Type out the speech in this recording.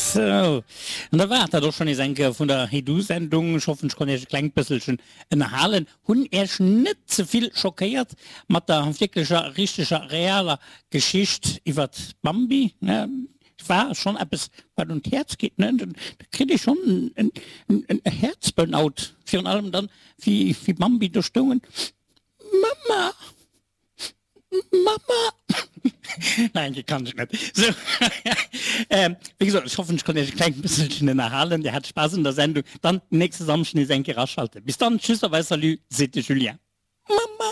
Sou, an da war et dat och schonn nees eng Kéier vun der Hey Du Sendung. Ech hoffen, ech konnt Iech e klengt bësselchen ënnerhalen, hunn Iech net ze vill schockéiert mat der wierklecher, richteger, realer Geschicht iwwert d'Bambi. War schonn eppes, wat un d'Häerz geet, ne? Da kritt ee schonn en Häerzburnout, virun allem dann, wéi Bambi do stoungen, Mamma! Mamma! Nein, déi kann ech net. Sou, wéi gesot, ech hoffen, ech konnt Iech e klengt bësselchen ënnerhalen. Dir hat Spaass un der Sendung. Dann nächste Samschden nees eng Kéier aschalten. Bis dann, tschüss a wei salut, seet de Julien. Mamma!